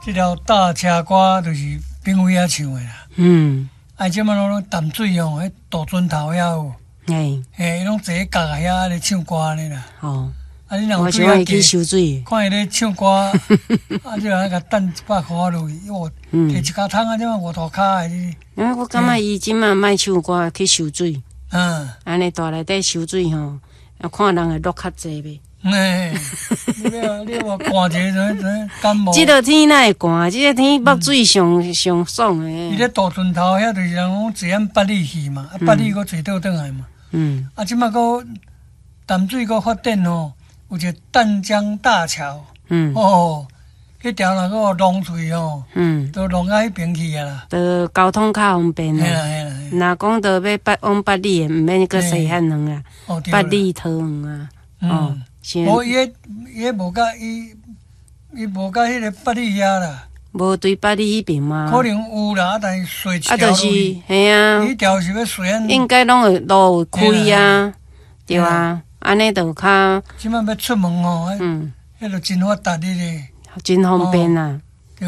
這條大車歌就是炳偉遐唱的啦。啊，這擺攏淡水吼，彼渡船頭遐有，嘿，伊攏坐佇角仔遐咧唱歌按呢啦。啊，你若有我水較想伊去低，收水。看伊咧唱歌，啊，你若共擲100箍落去，哦，提一跤桶啊，這擺五塗跤的。啊，我感覺伊這擺莫唱歌去收水，按呢蹛內底收水吼，啊，看人會落較濟袂？嘿，你欲寒一下就就感冒。這个天哪會寒？這个天捌水上上爽的。伊咧渡船頭遐就是人講坐按八里去嘛，啊八里閣坐倒轉來嘛。啊，這擺閣淡水閣發展吼，有一個淡江大橋。哦，彼條若閣弄出去吼，都弄到彼邊去啊啦。就交通較方便嘿啦啦。嘿啦。若講著欲八往八里的，毋免閣西漢園啊，八里桃園啊。哦。無伊彼伊彼無佮伊伊無佮彼个八里遐啦。無對八里彼邊嗎？可能有啦，但是踅一啊，條就是嘿啊。彼條是欲踅按。應該攏會路有開啊，對啊，按呢就較。這擺欲出門吼，彼就真發達咧。真方便啊！